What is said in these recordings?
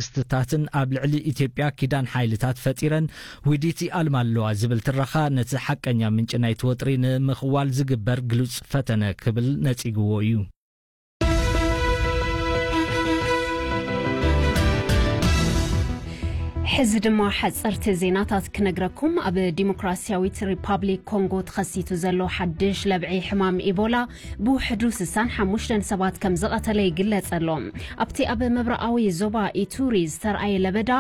ስትታትን ኣብ ልዕሊ ኢትዮጵያ ኪዳን ሓይልታት ፈጢረን ውዲት ይኣልማ ኣለዋ ዝብል ትረኻ፣ ነቲ ሓቀኛ ምንጪ ናይቲ ወጥሪ ንምኽዋል ዝግበር ግሉጽ ፈተነ ክብል ነጺግዎ እዩ። ሕዚ ድማ ሓጸርቲ ዜናታት ክነግረኩም። ኣብ ዲሞክራሲያዊት ሪፓብሊክ ኮንጎ ተኸሲቱ ዘሎ ሓድሽ ለብዒ ሕማም ኢቦላ ብውሕዱ ስሳን ሓሙሽተን ሰባት ከም ዝቐተለ ይግለጽ ኣሎ። ኣብቲ ኣብ ምብራቓዊ ዞባ ኢቱሪ ዝተርኣየ ለበዳ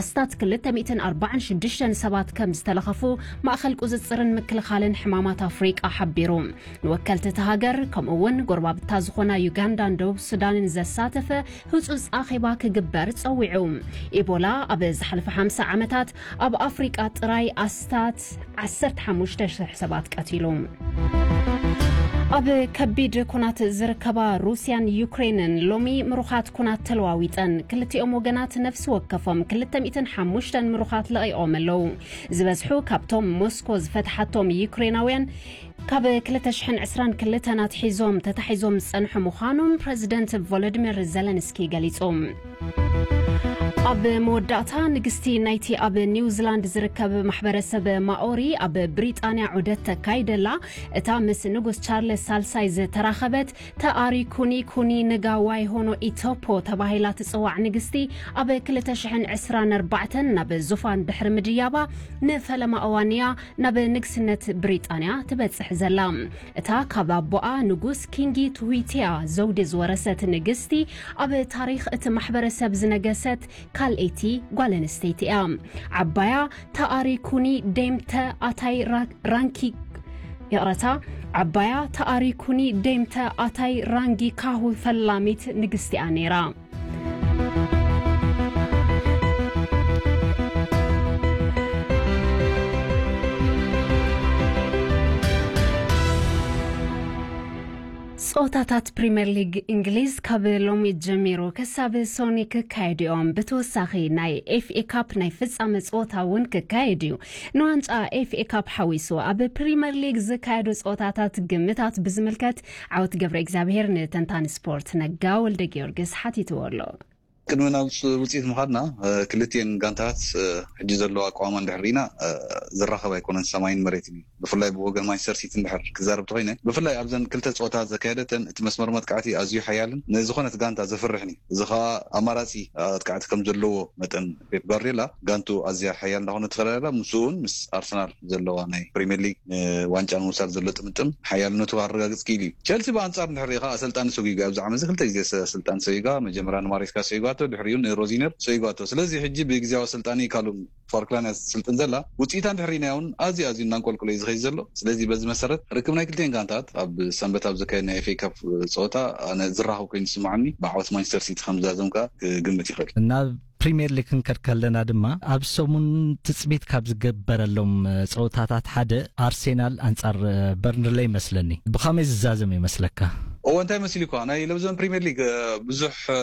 ኣስታት ክልተ ሚእትን ኣርባዓን ሽዱሽተን ሰባት ከም ዝተለኸፉ ማእኸል ቁጽጽርን ምክልኻልን ሕማማት ኣፍሪቃ ሓቢሩ። ንወከልቲ እታ ሃገር፣ ከምኡ እውን ጎረባብታ ዝኾና ዩጋንዳን ደቡብ ሱዳንን ዘሳተፈ ህጹጽ ኣኼባ ክግበር ጸዊዑ። ኢቦላ ኣብ ዝሓለፈ ሓምሳ ዓመታት ኣብ ኣፍሪቃ ጥራይ ኣስታት ዓሰርተ ሓሙሽተ ሽሕ ሰባት ቀቲሉ። ኣብ ከቢድ ኩናት ዝርከባ ሩስያን ዩክሬንን ሎሚ ምሩኻት ኩናት ተለዋዊጠን። ክልቲኦም ወገናት ነፍሲ ወከፎም ክልተ ሚእትን ሓሙሽተን ምሩኻት ለቒቖም ኣለዉ። ዝበዝሑ ካብቶም ሞስኮ ዝፈትሓቶም ዩክሬናውያን ካብ ክልተ ሽሕን ዕስራን ክልተን ኣትሒዞም ተታሒዞም ዝጸንሑ ምዃኖም ፕረዚደንት ቮሎዲሚር ዘለንስኪ ገሊጹ። ኣብ መወዳእታ፣ ንግስቲ ናይቲ ኣብ ኒውዚላንድ ዝርከብ ማሕበረሰብ ማኦሪ ኣብ ብሪጣንያ ዑደት ተካይደላ፣ እታ ምስ ንጉስ ቻርለስ ሳልሳይ ዝተራኸበት ተኣሪ ኩኒ ኩኒ ንጋ ዋይሆኖ ኢቶፖ ተባሂላ ትጽዋዕ ንግስቲ፣ ኣብ ክልተ ሽሕን ዕስራን ኣርባዕተን ናብ ዙፋን ድሕሪ ምድያባ፣ ንፈለማ እዋን እያ ናብ ንግስነት ብሪጣንያ ትበጽሕ ዘላ። እታ ካብ ኣቦኣ ንጉስ ኪንጊ ትዊቲያ ዘውዲ ዝወረሰት ንግስቲ፣ ኣብ ታሪኽ እቲ ማሕበረሰብ ዝነገሰት ካልኣይቲ ጓል ኣንስተይቲ እያ። ዓባያ ተኣሪ ኩኒ ደምተ ኣታይ ራ-፣ ራንኪ፣ ይቕረታ፣ ዓባያ ተኣሪ ኩኒ ደምተ ኣታይ ራንጊ ካሁ ፈላሚት ንግስቲ እያ ነይራ። ጸወታታት ፕሪምየር ሊግ እንግሊዝ ካብ ሎሚ ጀሚሩ ክሳብ ሶኒ ክካየዱ እዮም። ብተወሳኺ፣ ናይ ኤፍ ኤ ካፕ ናይ ፍጻመ ጸወታ እውን ክካየድ እዩ። ንዋንጫ ኤፍ ኤ ካፕ ሓዊሱ ኣብ ፕሪምየር ሊግ ዝካየዱ ጸወታታት ግምታት ብዝምልከት፣ ዓወት ገብረ እግዚኣብሔር ንተንታኒ ስፖርት ነጋ ወልደ ጊዮርጊስ ሓቲትዎ ኣሎ። ቅድሚ ናብ ውጽ-፣ ውጽኢት ምኻድና፣ እ፣ ክልቲኤን ጋንታታት፣ እ፣ ሕጂ ዘለዎ ኣቋውማ እንድሕር ርኢና፣ እ፣ ዝራኸብ ኣይኮነን፣ ሰማይን መሬትን እዩ። ብፍላይ ብወገን ማንቸስተር ሲቲ እንድሕር ክዛረብ ተኾይነ፣ ብፍላይ ኣብዘን ክልተ ጸወታ ዘካየደተን፣ እቲ መስመር መጥቃዕቲ ኣዝዩ ሓያልን ንዝኾነት ጋንታ ዘፍርሕን እዩ። እዚ ኸኣ ኣማራጺ ኣጥቃዕቲ ከም ዘለዎ መጠን፣ ፔፕ ጓርዲዮላ ጋንቱ ኣዝያ ሓያል እንዳኾነት ትኸዳ ኣላ። ምስኡ እውን ምስ ኣርሰናል ዘለዋ ናይ ፕሪምየር ሊግ ንዋንጫ ንምውሳድ ዘሎ ጥምጥም ሓያልነቱ ኣረጋግጽ ክኢሉ እዩ። ቸልሲ ብኣንጻር እንድሕር ርኢኻ፣ ኣሰልጣኒ ሰጒጓ ኣብዚ ዓመት እዚ ክልተ ግዜ ኣሰልጣኒ ሰጒጓ፣ መጀመርያ ንማሬስካ ሰጒጓቶ፣ ድሕሪኡ ንሮዚነር ሰጒጓቶ። ስለዚ ሕጂ ብግዜያዊ ኣሰልጣኒ ካሉም ፋርክላን እያ ትስልጥን ዘላ። ውጽኢታ እንድሕር ርኢናዮ እውን ኣዝዩ ኣዝዩ እናንቆልቆለ እዩ ዝኸይድ ዘሎ። ስለዚ በዚ መሰረት ርክብ ናይ ክልቲኤን ጋንታት ኣብ ሰንበት ኣብ ዝካየድ ናይ ኤፍ ኤ ካፕ ጸወታ ኣነ ዝራኸብ ኮይኑ ዝስምዓኒ፣ ብዓወት ማንቸስተር ሲቲ ከም ዝዛዘም ከኣ ክግምት ይኽእል። ናብ ፕሪምየር ሊግ ክንከድ ከለና ድማ፣ ኣብ ሰሙን ትጽቢት ካብ ዝገበረሎም፣ እ፣ ጸወታታት ሓደ ኣርሴናል ኣንጻር፣ እ፣ በርንሌይ ይመስለኒ። ብኸመይ ዝዛዘም ይመስለካ? እወ፣ እንታይ መሲሉ እኳ፣ ናይ ለብዘን ፕሪምየር ሊግ፣ እ፣ ብዙሕ፣ እ፣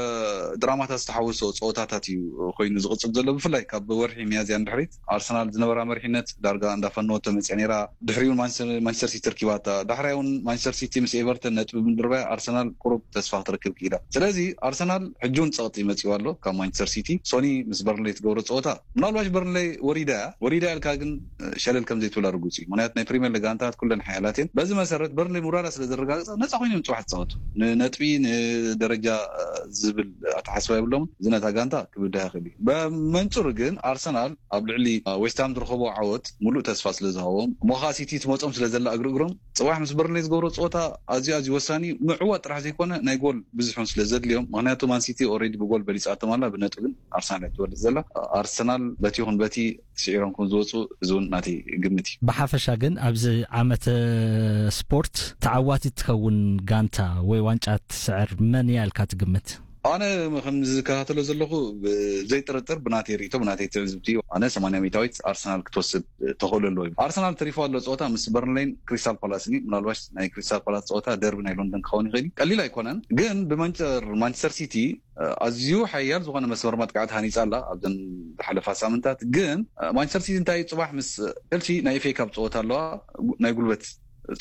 ድራማታት ዝተሓወሶ ጸወታታት እዩ ኮይኑ ዝቕጽል ዘሎ። ብፍላይ ካብ ወርሒ ሚያዝያ ንድሕሪት ኣርሰናል ዝነበራ መሪሕነት ዳርጋ እንዳፈነወቶ መጽያ ነይራ። ድሕሪኡ ማንቸስተር፣ ማንቸስተር ሲቲ ርኪባታ። ዳሕራይ እውን ማንቸስተር ሲቲ ምስ ኤቨርተን ነጥቢ ብምድርባይ ኣርሰናል ቁሩብ ተስፋ ክትረክብ ክኢላ። ስለዚ ኣርሰናል ሕጂ እውን ጸቕጢ መጺኡ ኣሎ ካብ ማንቸስተር ሲቲ። ሶኒ ምስ በርንሌይ ትገብሮ ጸወታ፣ ምናልባሽ በርንሌይ ወሪዳ እያ። ወሪዳ ኢልካ ግን፣ እ፣ ሸለል ከም ዘይትብላ ርጉጽ እዩ። ምኽንያቱ ናይ ፕሪምየር ሊግ ጋንታት ኩለን ሓያላት እየን። በዚ መሰረት በርንሌይ ምውራዳ ስለ ዘረጋግጸ ነጻ ኮይኖም ጽባሕ ዝጻወቱ። ንነጥቢ፣ ንደረጃ፣ እ፣ ዝብል ኣተሓስባ የብሎምን። እዚ ነታ ጋንታ ክብድሃ ይኽእል እዩ። ብመንጽሩ ግን ኣርሰናል ኣብ ልዕሊ ዌስትሃም ዝረኸቦ ዓወት ሙሉእ ተስፋ ስለ ዝሃቦም፣ እሞ ኸኣ ሲቲ ትመጾም ስለ ዘላ እግሪ እግሮም፣ ጽባሕ ምስ በርንሌ ዝገብሮ ጸወታ ኣዝዩ ኣዝዩ ወሳኒ እዩ። ምዕዋት ጥራሕ ዘይኮነ ናይ ጎል ብዝሑን ስለ ዘድልዮም፣ ምኽንያቱ ማን ሲቲ ኦልሬዲ ብጎል በሊጻቶም ኣላ፣ ብነጥቢ ግን ኣርሰናል እያ ትበልጽ ዘላ። ኣርሰናል በቲ ይኹን በቲ ስዒሮም ከም ዝወጹ እዚ እውን ናተይ ግምት እዩ። ብሓፈሻ ግን ኣብዚ ዓመተ ስፖርት ተዓዋቲት ትኸውን ጋንታ ወይ ዋንጫ ትስዕር መን እያ ኢልካ ትግምት? ኣነ ከም ዝከታተሎ ዘለኹ ብዘይጥርጥር ብናተይ ርእይቶ ብናተይ ትዕዝብቲ ኣነ ሰማንያ ሚእታዊት ኣርሰናል ክትወስድ ተኽእሎ ኣለዎ እዩ። ኣርሰናል ተሪፎ ኣሎ ጸወታ ምስ በርንሌይን ክሪስታል ፓላስን እዩ። ምናልባሽ ናይ ክሪስታል ፓላስ ጸወታ ደርቢ ናይ ሎንደን ክኸውን ይኽእል እዩ። ቀሊል ኣይኮነን ግን ብመንጨር ማንቸስተር ሲቲ ኣዝዩ ሓያል ዝኾነ መስመር መጥቃዕቲ ሃኒጻ ኣላ ኣብዘን ዝሓለፋ ሳምንታት። ግን ማንቸስተር ሲቲ እንታይ እዩ ጽባሕ ምስ ቸልሲ ናይ ኤፍ ኤ ካፕ ጸወታ ኣለዋ። ናይ ጉልበት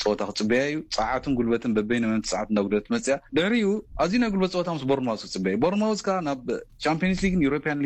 ጸወታ ክጽበያ እዩ። ጸዓትን ጉልበትን በበይነ መምቲ ጸዓት እንዳጉደለት መጽያ። ድሕሪኡ ኣዝዩ ናይ ጉልበት ጸወታ ምስ ቦርንማውዝ ክጽበያ እዩ። ቦርንማውዝ ከኣ ናብ ቻምፒየንስ ሊግን ዩሮፒያን